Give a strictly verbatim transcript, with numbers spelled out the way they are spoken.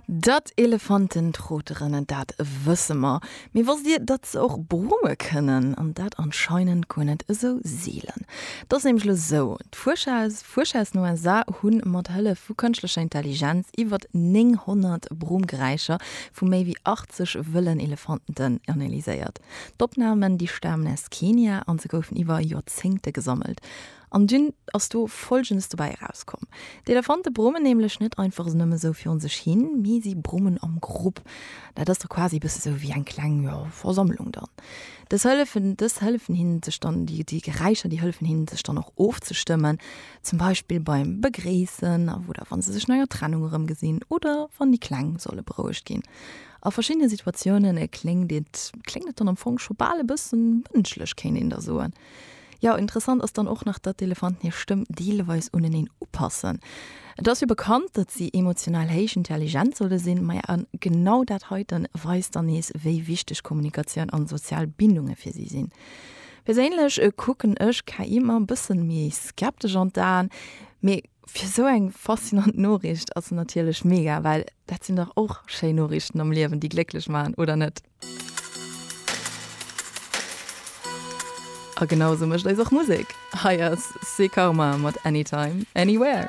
Datt Elefanten troteren, dat wësse mer. Mee wosst Dir, datt se och brumme kënnen? An dat anscheinend guer net esou seelen. Et ass nämlech elo esou, D'Fuerscher aus Fuerscher aus den U S A hunn mat Hëllef vu kënschtlecher Intelligenz iwwert nénghonnert Brummgeräischer vu méi wéi achtzeg wëllen Elefanten analyséiert. D'Opnamen, déi stamen aus Kenia an se goufen iwwer Joerzéngte gesammelt. An dunn ass do Folgendes dobäi erauskomm, D'Elefante brummen nämlech net einfach nëmme sou virun sech hin, mee si brummen am Grupp. Dat ass da quasi e bësse sou wéi eng kleng, jo, Versammlung dann. Dës hëllefen, dës hëllefen hinnen sech dann, déi, déi Geräischer, déi hëllefen hinnen sech dann och ofzestëmmen, zum Beispill beim Begréissen oder wa se sech no enger Trennung erëmgesinn oder wann déi Kleng solle berouegt ginn. A verschiddene Situatioune kléngt et, kléngt et dann am Fong scho bal e bëssen mënschlech, kéint een da soen. Jo, interessant ass dann och nach, datt d'Elefanten hir Stëmm deelweis uneneen upassen. Et ass jo bekannt, datt si emotional héich intelligent solle sinn, maja a genau dat heiten weist dann nees, wéi wichteg Kommunikatioun an sozial Bindunge fir si sinn. Perséinlech kucken ech K I ëmmer e bëssen méi skeptesch an d'Aen, mee fir sou eng faszinant Noriicht ass se natierlech mega, well dat sinn dach och schéin Noriichten am Liewen, déi glécklech maachen, oder net? A genau sou mécht eis och Musek. Hei ass C'est Karma mat Anytime, Anywhere.